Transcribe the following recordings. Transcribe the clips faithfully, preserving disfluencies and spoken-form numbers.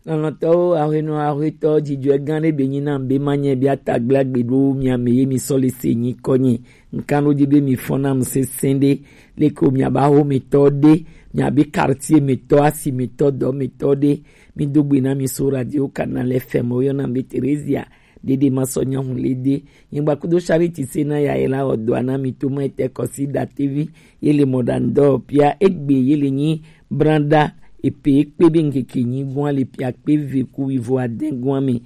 Lɔlɔ̃tɔwo, ahwenɔ, ahwetɔ, dzidzɔe gã ɖe be nyi nam be manye be atagble agbe ɖo mia me ye mi sɔ le se nyi kɔnye. Nkan ɖo dzi be mi fɔ nam sesẽ ɖe, leke wo miabe ahometɔ ɖe, miabe quartier metɔ, asi metɔ, dɔ metɔ ɖe. Mi do gbe na mi so radio canal F M, wo yɔna be Theresia. Ɖeɖe ma sɔ nya hu le de. Nyigba kudo Charity se na ya ye la wɔ dɔa na mi to ma ete kɔsi datevi. Ye le mɔ ɖa ŋdɔ pia egbe ye le nyi branda epe ekpe be ŋkeke nyi gua le pia kpe ve ku wivo ade gua me.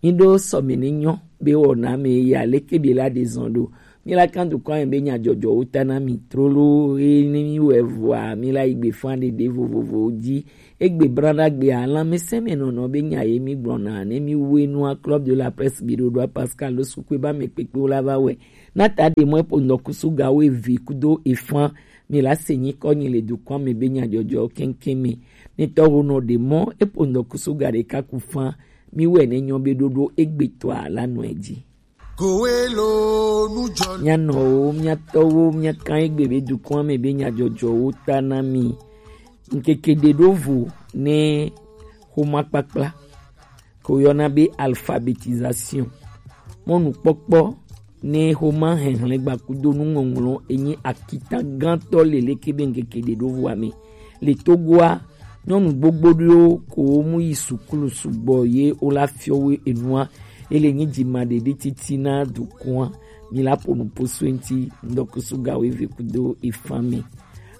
Mi ɖo sɔ me ne nyɔ be wɔ na me ya leke be la de zɔn ɖo. Mi la kan dukɔ ame be nya jɔjɔ wo ta na mi trolo ye ne mi wɛ vɔa mi la yi gbe fan ɖeɖe vovovowo dzi. Egbe branda gbea, lãmesẽmenɔnɔ be nya ye mi gblɔna ne mi wue nua Club de la Presse biɖoɖoa Pascal lo sukue ba me kpekpe la va wɛ. Na ta ɖe mɔ epo ŋdɔkusu ga wo eve kudo efan mi la se nyi kɔ nyi le dukɔ me be nya jɔjɔ keŋkeŋ me. Ne tɔ ho nɔ ɖe mɔ epo ŋdɔkusu ga ɖeka ku fan mi wɛ ne nyɔ be ɖoɖo egbe tɔa la nɔ edzi. Kowelo nujɔ. Mianɔwo, miatɔwo, miakan egbe be dukɔa me be nyadzɔdzɔwo ta na mi. Ŋkeke ɖe ɖo vo ne xoma kpakpla, ko yɔna be alphabétisation. Mɔnukpɔkpɔ ne xoma hɛhlɛgba kudo nuŋɔŋlɔ enyi akita gãtɔ le leke be ŋkeke ɖe ɖo voa me. Le Togoa, nyɔnu gbogbo ɖewo ko mu yi sukulu sugbɔ ye wo la fiɔ wo enua. Ele nyi dzima ɖeɖe titi na dukɔa. Mi la ƒo nu ƒo so eŋti ŋdɔkusu ga wo eve kudo efan me.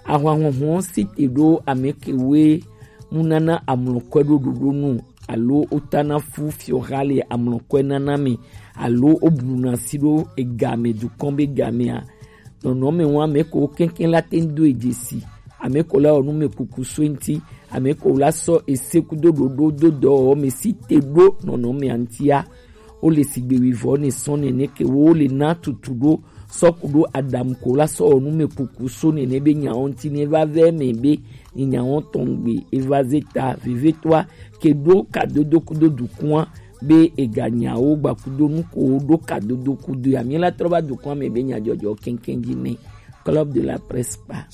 Ahwanhuhu si te ɖo ame kewoe mu nana amlɔkɔe ɖo ɖoɖo nu alo wotana fu fiɔha le amlɔkɔe nana me alo wobluna si ɖo ega me dukɔ be ga mea. Nɔnɔme ŋu ame ko keŋkeŋ la te ŋu do edze si. Ame ko la wɔ nu me kuku so eŋti. Ame ko la sɔ ese kudo ɖoɖo do dɔwɔwɔ me si te ɖo nɔnɔmea ŋtia. Wo le sigbe wivɔ ne sɔ nene ke wo le na tutu ɖo sɔ ku ɖo Adam ko la sɔ wɔ nu me kuku so nene be nyawo ŋti ne va vɛ me be ni nyawo tɔn gbe eva ze ta vevetoa ke ɖo kadodo kudo dukua be ega nyawo gba kudo nu ko ɖo kadodo kudo ya. Mi la trɔ va dukua me be nyadzɔdzɔ keŋkeŋ dzi ne Club de la Presse kpa.